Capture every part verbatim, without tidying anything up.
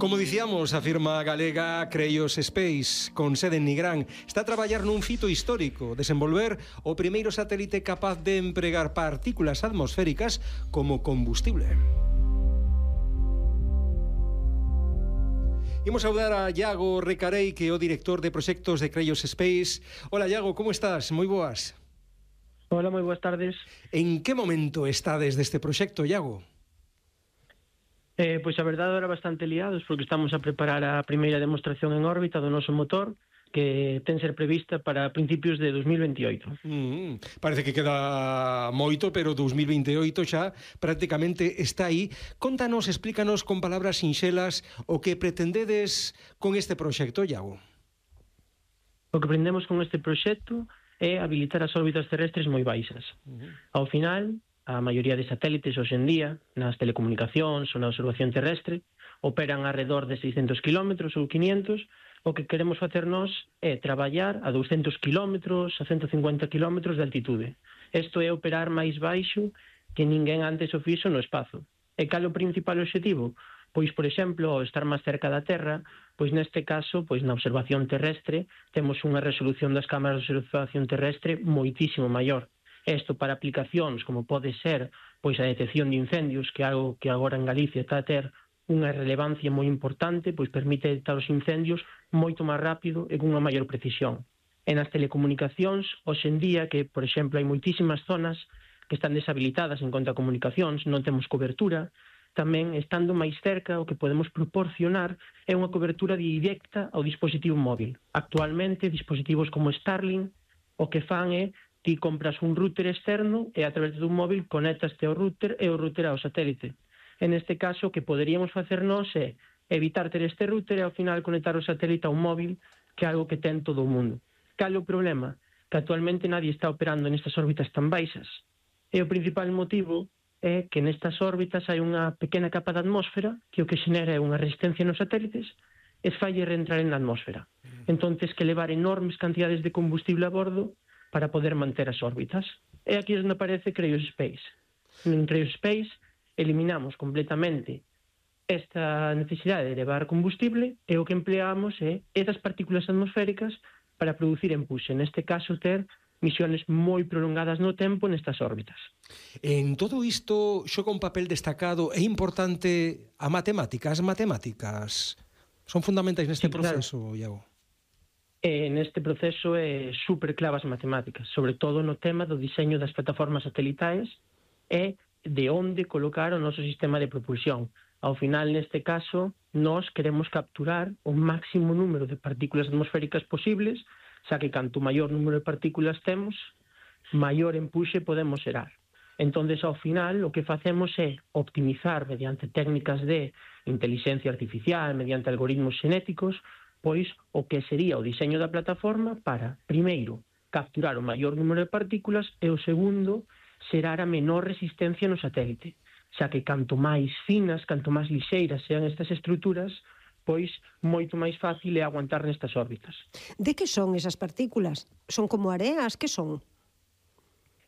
Como dicíamos, a firma galega Creios Space, con sede en Nigrán, está a traballar nun fito histórico, desenvolver o primeiro satélite capaz de empregar partículas atmosféricas como combustible. Imos saudar a Iago Recarei, que é o director de proxectos de Creios Space. Hola, Iago, como estás? Moi boas. Hola, moi boas tardes. En que momento estades deste proxecto, Iago? Eh, pois a verdade era bastante liados porque estamos a preparar a primeira demostración en órbita do noso motor que ten ser prevista para principios de dos mil veintioito. Mm, parece que queda moito, pero dos mil veintioito xa prácticamente está aí. Contanos, explícanos con palabras sinxelas o que pretendedes con este proxecto, Iago. O que aprendemos con este proxecto é habilitar as órbitas terrestres moi baixas. Uh-huh. Ao final, a maioría de satélites hoxe en día, nas telecomunicacións ou na observación terrestre, operan alrededor de seiscentos kilómetros ou quinientos. O que queremos facer nós é traballar a douscentos kilómetros, a ciento cincuenta kilómetros de altitude. Isto é operar máis baixo que ninguén antes o fixo no espazo. E cal o principal obxectivo? Pois, por exemplo, ao estar máis cerca da Terra, pois neste caso, pois na observación terrestre, temos unha resolución das cámaras de observación terrestre moitísimo maior. Isto para aplicacións como pode ser pois a detección de incendios, que é algo que agora en Galicia está a ter unha relevancia moi importante, pois permite detectar os incendios moito máis rápido e cunha maior precisión. E nas telecomunicacións, hoxe en día, que, por exemplo, hai moitísimas zonas que están deshabilitadas en conta a comunicacións, non temos cobertura, tamén, estando máis cerca, o que podemos proporcionar é unha cobertura directa ao dispositivo móvil. Actualmente, dispositivos como Starlink, o que fan é ti compras un router externo e a través dun móvil conectaste ao router e o router ao satélite. En este caso, o que poderíamos facer nós é evitar ter este router e ao final conectar o satélite a un móvil, que é algo que ten todo o mundo. Cal é o problema? Que actualmente nadie está operando nestas órbitas tan baixas. E o principal motivo é que nestas órbitas hai unha pequena capa de atmósfera que o que xenera é unha resistencia nos satélites e falle reentrar en la atmósfera. Entón, tes que levar enormes cantidades de combustible a bordo para poder manter as órbitas. E aquí é onde aparece Creios Space. En Creios Space eliminamos completamente esta necesidade de levar combustible e o que empleamos é esas partículas atmosféricas para producir empuxe. Neste caso, ter misiones moi prolongadas no tempo nestas órbitas. En todo isto xoga un papel destacado e importante a matemática. As matemáticas son fundamentais neste sí, proceso, claro. Iago. E neste proceso é super clave as matemáticas, sobre todo no tema do diseño das plataformas satelitais e de onde colocar o noso sistema de propulsión. Ao final, neste caso, nós queremos capturar o máximo número de partículas atmosféricas posibles, xa que canto maior número de partículas temos, maior empuxe podemos xerar. Entón, ao final, o que facemos é optimizar mediante técnicas de inteligencia artificial, mediante algoritmos xenéticos, pois o que sería o diseño da plataforma para, primeiro, capturar o maior número de partículas e o segundo, xerar a menor resistencia no satélite, xa que canto máis finas, canto máis lixeiras sean estas estruturas, pois moito máis fácil é aguantar nestas órbitas. De que son esas partículas? Son como areas? Que son?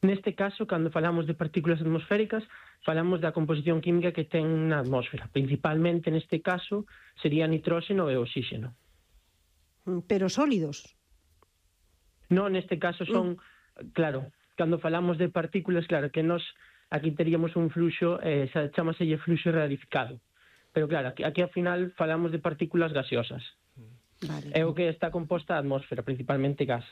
Neste caso, cando falamos de partículas atmosféricas, falamos da composición química que ten na atmósfera. Principalmente, neste caso, sería nitróxeno e oxígeno. Pero sólidos? Non, neste caso son, mm. claro, cando falamos de partículas, claro, que nos aquí teríamos un fluxo, eh, chamaselle fluxo rarificado. Pero claro, aquí, aquí ao final falamos de partículas gaseosas. Vale. É o que está composta a atmósfera, principalmente gas.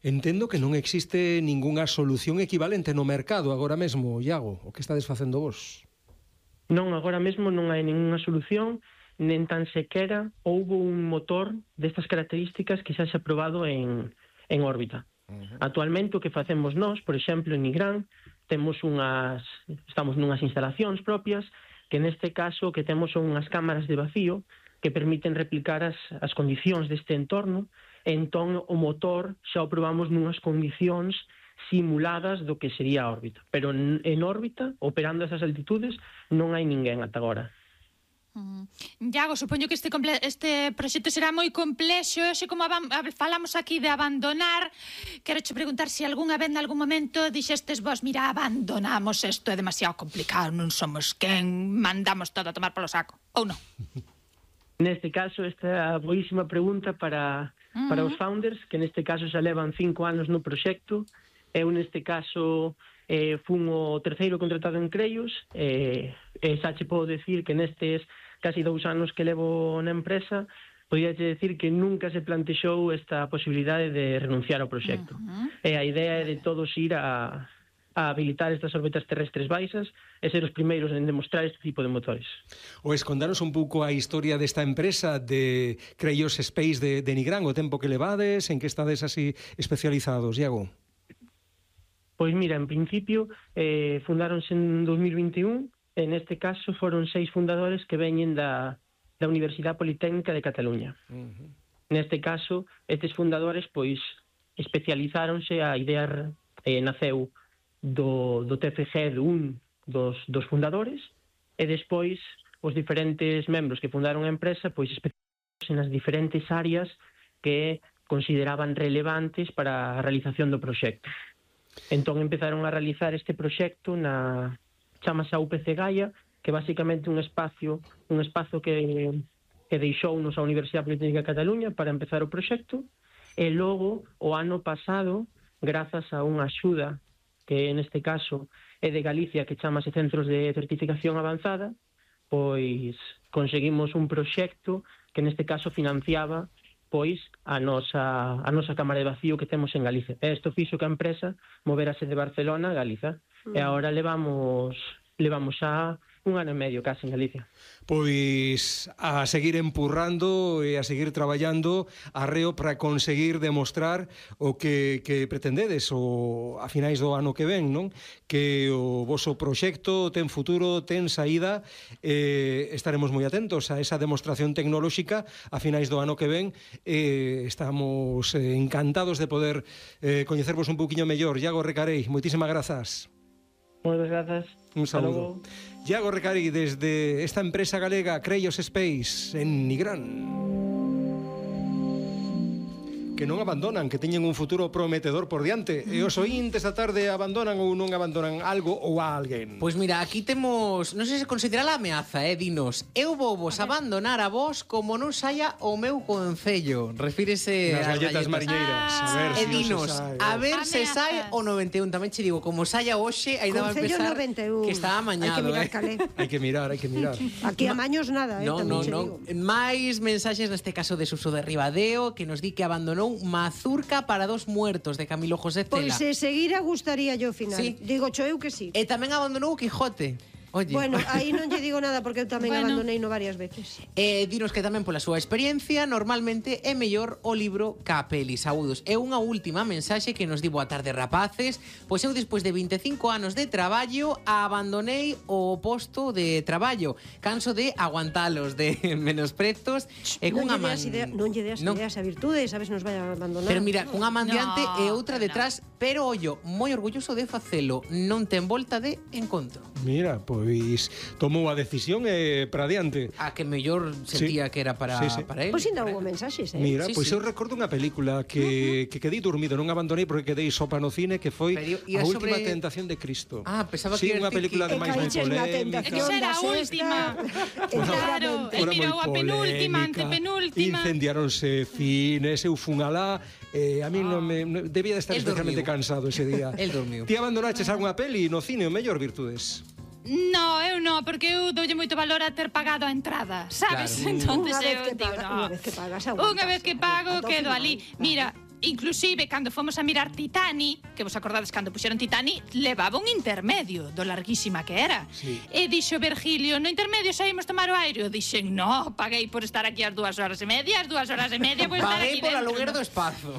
Entendo que non existe ningunha solución equivalente no mercado agora mesmo, Iago, o que estades facendo vos? Non, agora mesmo non hai ningunha solución, nen tan sequera houbo un motor destas características que xa se ha probado en, en órbita. Uh-huh. Actualmente o que facemos nós, por exemplo, en Nigrán, temos unhas, estamos nunhas instalacións propias que neste caso que temos son unhas cámaras de vacío que permiten replicar as, as condicións deste entorno, e entón o motor xa o probamos nunhas condicións simuladas do que sería a órbita. Pero en, en órbita, operando esas altitudes, non hai ninguén ata agora. Mm. Iago, supoño que este, este proxecto será moi complexo. Xe como falamos aquí de abandonar, quero che preguntar se algunha vez, en algún momento, dixestes vos, mira, abandonamos, isto é demasiado complicado, non somos quen, mandamos todo a tomar polo saco, ou non? Neste caso, esta é a boísima pregunta para, uh-huh. para os founders, que neste caso xa levan cinco anos no proxecto. Eu, neste caso, eh, fun o terceiro contratado en Crellos, e eh, xa che podo decir que nestes casi dous anos que levo na empresa, podía decir que nunca se plantexou esta posibilidade de renunciar ao proxecto. Uh-huh. E a idea é de todos ir a, a habilitar estas órbitas terrestres baixas e ser os primeiros en demostrar este tipo de motores. O escondanos un pouco a historia desta empresa de Crellos Space de, de Nigrán, o tempo que levades, en que estades así especializados, Iago? Pois mira, en principio eh, fundáronse en dos mil vinte e un, e neste caso foron seis fundadores que veñen da da Universidade Politécnica de Cataluña. Uh-huh. Neste caso, estes fundadores pois especializáronse, a idea eh, naceu do, do T F G de un dos, dos fundadores, e despois os diferentes membros que fundaron a empresa pois especializáronse nas diferentes áreas que consideraban relevantes para a realización do proxecto. Entón empezaron a realizar este proxecto na chamase a U P C Gaia, que basicamente un espacio un espazo que, que deixounos a Universidade Politécnica de Cataluña para empezar o proxecto, e logo, o ano pasado, grazas a unha axuda que neste caso é de Galicia, que chamase Centros de Certificación Avanzada, pois conseguimos un proxecto que neste caso financiaba pois a nosa, a nosa cámara de vacío que temos en Galicia. E isto fixo que a empresa moverase de Barcelona a Galiza. Mm. E agora levamos levamos xa un ano e medio case en Galicia. Pois a seguir empurrando e a seguir traballando arreo para conseguir demostrar o que, que pretendedes o, a finais do ano que ven, non? Que o voso proxecto ten futuro, ten saída, eh, estaremos moi atentos a esa demostración tecnolóxica a finais do ano que ven. Eh, estamos eh, encantados de poder eh, coñecervos un pouquiño mellor. Iago Recarei, moitísimas grazas. Moitas grazas. Un saludo. Iago Recarei, desde esta empresa galega Crellos Space en Nigrán. Que non abandonan, que teñen un futuro prometedor por diante. E os oíntes da tarde abandonan ou non abandonan algo ou a alguén? Pois mira, aquí temos, non sei se considera a ameaza, eh, dinos. Eu vou vos abandonar a vos como non saia o meu concello. Refírese nas galletas, galletas mariñeiras. Ah, a ver e si dinos, se a ver se sai o noventa e un. Tamén che digo, como saia hoxe, ainda va a empezar noventa e un. que está amañado, hai que mirar, eh. calé. Hai que mirar, hai que mirar. Aquí a maños nada, eh, no, tamén no, che no. digo. Mais mensaxes neste caso de Suso de Ribadeo, que nos di que abandonou Mazurca para dos muertos de Camilo José Cela. Pois se seguira gustaría yo final. Sí. Digo cho eu que sí. E tamén abandonou Quijote. Oye. Bueno, aí non lle digo nada porque eu tamén Bueno. abandonei no varias veces. Eh, dinos que tamén pola súa experiencia normalmente é mellor o libro ca peli. Saúdos. E unha última mensaxe que nos di boa tarde, rapaces. Pois eu despois de vinte e cinco anos de traballo abandonei o posto de traballo. Canso de aguantalos, de menosprezos e Non cunha lle man... deas idea, non lle deas Non. ideas a virtudes, sabes, nos vai a abandonar. Pero mira, cunha man diante No, e outra no. detrás, pero ollo, moi orgulloso de facelo. Non ten volta de encontro. Mira, pois tomou a decisión e para adiante. A que mellor sentía Sí. que era para, Sí, sí. para él. Pois ainda houve mensaxes, eh? Mira, Sí, pois sí. eu recordo unha película que, uh-huh. que quedei dormido, non abandonei porque quedei sopa no cine, que foi Pero A ia Última sobre- Tentación de Cristo. Ah, pensaba sí, que unha ias decir película que- de máis moi caíches na polémica. tentación Esa era a da sexta. última. Claro, Seguramente. el Fora mirou moi a penúltima, polémica. antepenúltima. Incendiaronse cines, eu fun alá, eh, a mí non me non- debía de estar El especialmente dormiu. cansado ese día. El dormiu. Ti abandonaches algunha peli no cine, o mellor, Virtudes? No, eu no, porque eu doulle moito valor a ter pagado a entrada, sabes? Claro. Entonces Unha vez eu que digo, paga- no. unha vez que pagas, aguantas. Unha vez que pago, Ata o quedo final, ali. claro. Mira, inclusive, cando fomos a mirar Titani, que vos acordades cando puxeron Titani, levaba un intermedio do larguísima que era. Sí. E dixo Virgilio, no intermedio saímos tomar o aire. Eu dixen, no, paguei por estar aquí as dúas horas e media, as dúas horas e media, por estar Paguei aquí por dentro. aluguer no? do espazo.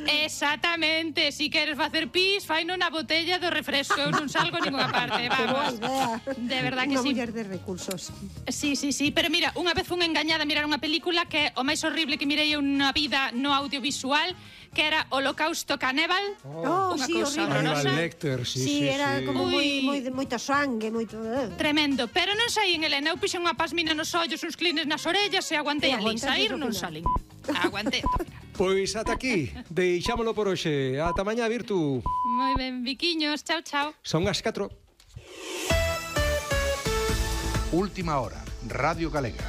Exactamente, si queres facer pis, faino na botella do refresco, eu non salgo a ninguna parte, Que boa vamos. idea. De verdad que Unha sí. muller de recursos. Sí, sí, sí, pero mira, unha vez fun engañada a mirar unha película que é o máis horrible que mirei unha vida no audiovisual, que era Holocausto Caníbal. Oh, Unha sí, cousa horrible. Hannibal horrorosa. Lecter, sí, Sí, sí, era sí. como moi, Ui. moi de moita sangue, moito... eh. Tremendo, pero non saí en Elena, eu pixen unha pasmina nos ollos, uns clines nas orellas e aguantei E ali, aguantaste sair ao non final. salín. Aguantei ata o final. Pois ata aquí, deixámolo por hoxe. Ata mañá, Virtu. Moi ben, biquiños, chao, chao. Son as catro. Última hora, Radio Galega.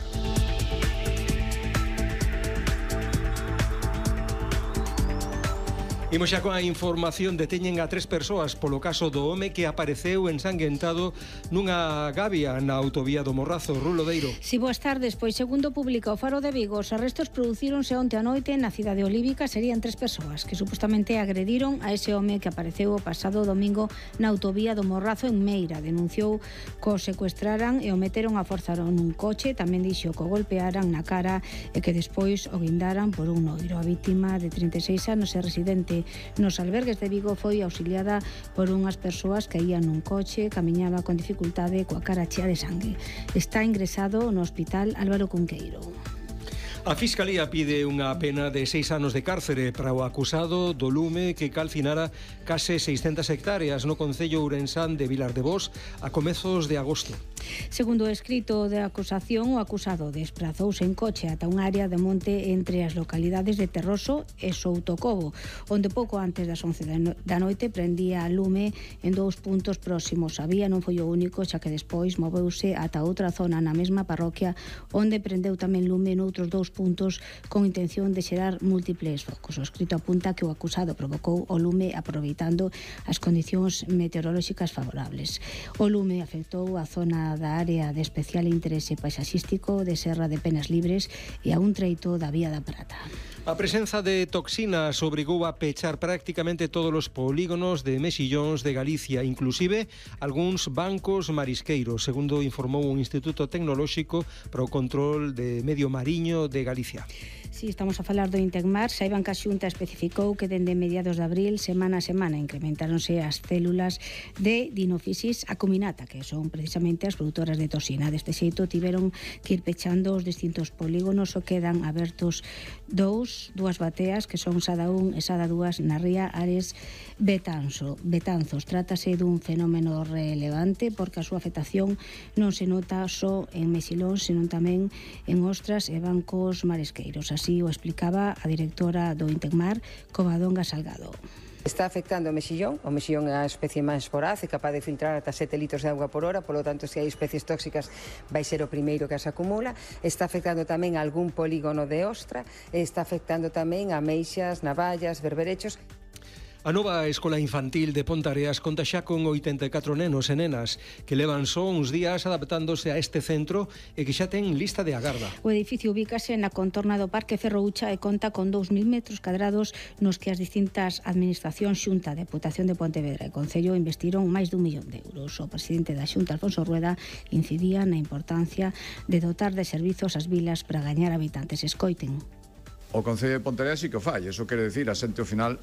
Imos xa coa información. Deteñen a tres persoas polo caso do home que apareceu ensanguentado nunha gavia na autovía do Morrazo. Rulo Deiro. Si, boas tardes. Pois segundo publica o Faro de Vigo, os arrestos producíronse onte a noite na cidade olívica. Serían tres persoas que supostamente agrediron a ese home que apareceu o pasado domingo na autovía do Morrazo en Meira. Denunciou que o secuestraran e o meteron a forzar nun coche. Tamén dixo que o golpearan na cara e que despois o guindaran por un noiro. A vítima de trinta e seis anos é residente nos albergues de Vigo, foi auxiliada por unhas persoas que ían nun coche, camiñaba con dificultade coa cara chea de sangue. Está ingresado no hospital Álvaro Cunqueiro. A Fiscalía pide unha pena de seis anos de cárcere para o acusado do lume que calcinara case seiscentas hectáreas no concello ourensán de Vilar de Bos a comezos de agosto. Segundo o escrito de acusación, o acusado desprazouse en coche ata un área de monte entre as localidades de Terroso e Soutocobo, onde pouco antes das once da noite prendía a lume en dous puntos próximos. A vía non foi o único, xa que despois moveuse ata outra zona na mesma parroquia, onde prendeu tamén lume noutros dous puntos con intención de xerar múltiples focos. O escrito apunta que o acusado provocou o lume aproveitando as condicións meteorolóxicas favorables. O lume afectou a zona da área de especial interese paisaxístico de Serra de Penas Libres e a un treito da Vía da Prata. A presenza de toxinas obrigou a pechar prácticamente todos os polígonos de mexillóns de Galicia, inclusive algúns bancos marisqueiros, segundo informou o Instituto Tecnolóxico para o Control de Medio Mariño de Galicia. Si, estamos a falar do Intecmar. Saiban que a Xunta especificou que dende mediados de abril, semana a semana, incrementáronse as células de Dinophysis acuminata, que son precisamente as produtoras de toxina. Deste xeito tiveron que ir pechando os distintos polígonos, o quedan abertos dous, dúas bateas, que son Sada un e Sada dúas na ría Ares Betanzo. Betanzos. Trátase dun fenómeno relevante porque a súa afectación non se nota só en mexilóns, senón tamén en ostras e bancos marisqueiros. Así o explicaba a directora do Intecmar, Covadonga Salgado. Está afectando o mexillón. O mexillón é a especie máis voraz e capaz de filtrar ata sete litros de auga por hora, polo tanto, se hai especies tóxicas vai ser o primeiro que as acumula. Está afectando tamén a algún polígono de ostra, e está afectando tamén a meixas, navallas, berberechos. A nova escola infantil de Pontareas conta xa con oitenta e catro nenos e nenas que levan só uns días adaptándose a este centro e que xa ten lista de agarda. O edificio ubícase na contorna do Parque Ferroucha e conta con dous mil metros cadrados nos que as distintas administracións Xunta, Deputación de Pontevedra e Concello investiron máis dun millón de euros. O presidente da Xunta, Alfonso Rueda, incidía na importancia de dotar de servizos as vilas para gañar habitantes. Escoiten. O Concello de Pontevedra sí que o fai, eso quere decir, a xente ao final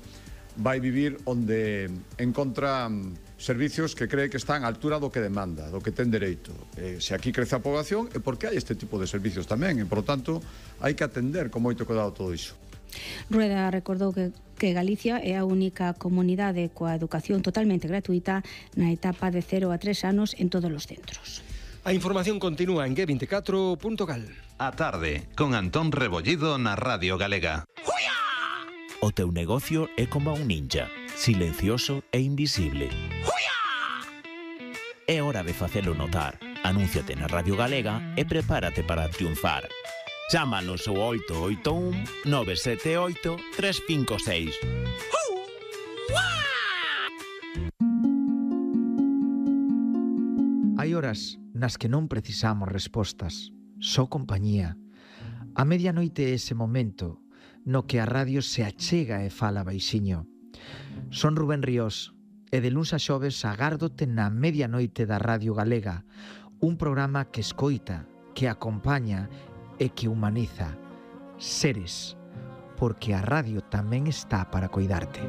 vai vivir onde encontra servicios que cree que están á altura do que demanda, do que ten dereito. Eh, se aquí crece a poboación é porque hai este tipo de servicios tamén, e, por tanto, hai que atender con moito cuidado todo iso. Rueda recordou que, que Galicia é a única comunidade coa educación totalmente gratuita na etapa de cero a tres anos en todos os centros. A información continúa en G veinticuatro punto gal. A tarde, con Antón Rebollido na Radio Galega. O teu negocio é como un ninja, silencioso e invisible. É hora de facelo notar. Anúnciate na Radio Galega e prepárate para triunfar. Chámanos ao oito oito un nove sete oito tres cinco seis. Hai horas nas que non precisamos respostas, só compañía. A medianoite é ese momento no que a radio se achega e fala baixiño. Son Rubén Ríos e de luns a xoves agárdote na medianoite da Radio Galega, un programa que escoita, que acompaña e que humaniza. Seres, porque a radio tamén está para coidarte.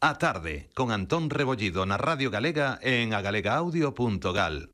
A tarde, con Antón Rebollido na Radio Galega en agalega audio punto gal.